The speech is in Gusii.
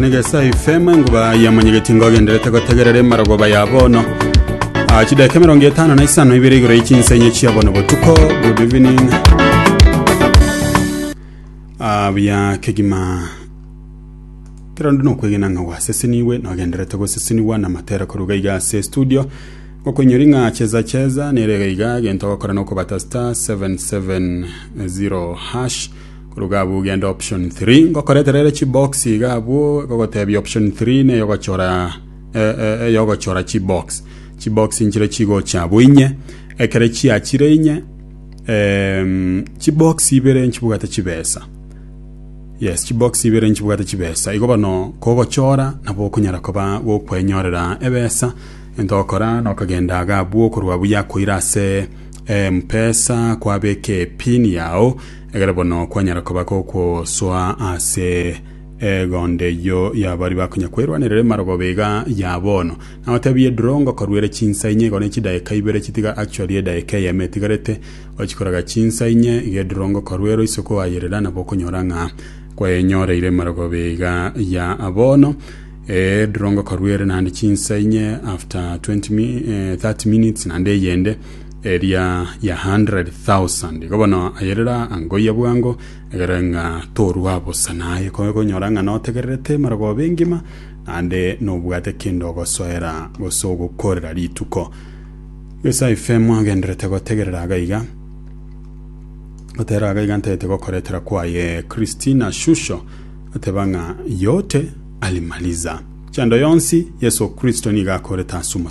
Negesae FM enguba yamanyegeti ngogenderete gotegerera emarogoba ya bono. Ah, chidakika 52 igoro y'echinsenye chia bono botuko. Good evening. Ah, buya kegima kero ndi nokwegena ng'a gwaseseniwe nogenderete goseseniwa na matera koruga iga ase studio gokoinyori ng'a cheza cheza nere iga iga gento ogokora nokobata star 770 hash Koruga abwo ogende option 3 ngokoretera ere chibox iga abwo egogotebia option 3 neyogochora eh, eh, eyogochora chibox chibox nchire chigocha abwo inye ekere chiachire inye em, chibox ibere nchibwate chibesa yes chibox ibere nchibwate chibesa igo bono kogochora nabo okonyara koba gokwenyorera ebesa ento ogokora nokogenda iga abwo korwa abwo yakoira ase mpesa kwabeka epin yao Ekero bono kwanyara koba gokwosoa ase egondo eyio y'abaria bakonya kwerwanerera emarogoba iga ya bono. Nagotebie draw ngokoruere chinsa inye igo ne chidaeka ibere chitiga actually edaeka eyemo etigarete ochikoraga chinsa inye iga edraw ngokoruere oise koayerera nabo okonyora ng'a kwenyoreire emarogoba iga ya bono. Edraw ngokoruere naende chinsa inye after 20 mi, 30 minutes naende eyende eria ya 100,000. Igo bono ayerera angoyia bwango, egere ng'a torua bosa naye konyora ng'a notegererete marogoba engima, naende nobwate kende ogosoera gose ogokorera rituko. Gesa FM agenderete gotegerera iga iga. Gotera iga iga ntagete gokoretera kwaye Christina Shusho ateba ng'a yote alimaliza. Chando yonsi Yeso Kristo nigo akorete ase omosalaba.